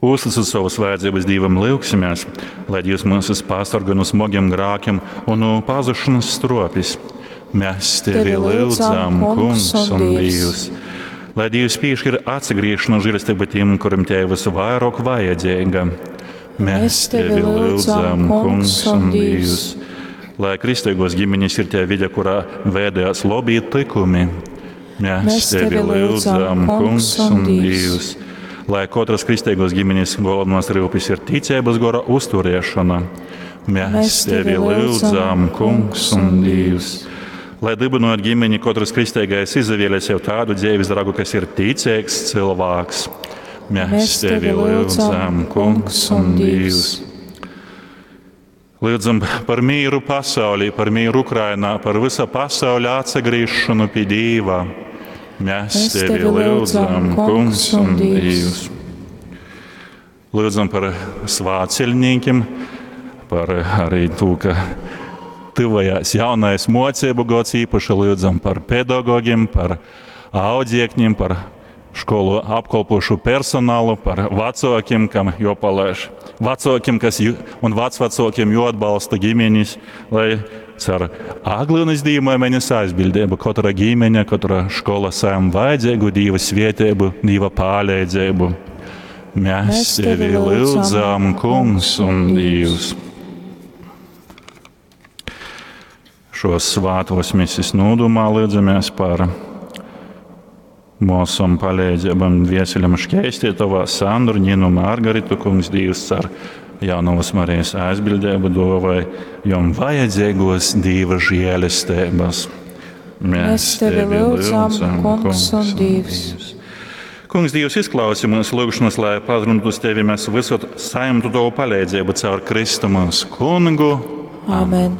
Uzticot savas vajadzības Dīvam, lyugsimies, lai Dievs mūs pasargā no smagiem grēkiem un no pazušanas stropes. Mēs tevi lyudzam, Kungs un Dievs. Lai Dievs piešķir atsagriešanos žēlastību tiem, kuriem te visvairāk vajadzīga. Mēs tevi lyudzam, Kungs un Dievs. Lai kristīgos ģimenes ir tie vide, kurā veidojās labi tikumi. Mēs tevi lyudzam, Kungs un Dievs. Lai katras kristīgos ģimenes galvenās rūpes ir ticības gora uzturēšana. Mēs tevi lyudzam, Kungs un Dievs. Lai dibinot ģimeni, katrs kristīgais izvēlē sev tādu dzīves draugu, kas ir ticīgs cilvēks. Mēs tevi lyudzam, Kungs un Dievs. Lūdzam par mīru pasaulī, par mīru Ukrainā, par visa pasauļa atsagriežšanu pie Dieva. Mēs tevi lyudzam, Kungs un Dievs. Lūdzam par svātceļniekiem, par arī to, ka tuvojās jaunais mocību gads, īpaši lūdzam par pedagogiem, par audzēkņiem, par školu apkalpošu personālu, par vecākiem, kam jopalaiž, vecākiem, kas un vecvecākiem joatbalsta ģimenes, lai caur Aglūnas dīvamenes aizbildību katra ģimene, katra škola saim vajadzīgu Dieva svētību, Dieva palīdzību. Mēs tevi lūdzam, Kungs un Dievs. Šos svātos misis nūdumā lūdzamies par mūsam palīdzībam dvieseļam šķēstītovā Sandru, Ninu Margaritu, Kungs Dievs ar Jaunavas Marijas aizbildību dovai, jom vajadzīgos Dieva žēlestības. Mēs tevi lūdzam, Kungs un Dievs. Kungs Dievs, izklausi mūsu lūgšanas, lai pazruntu uz tevi mēs visur saimtu tavu palīdzību caur Kristu mūsu kungu. Amen.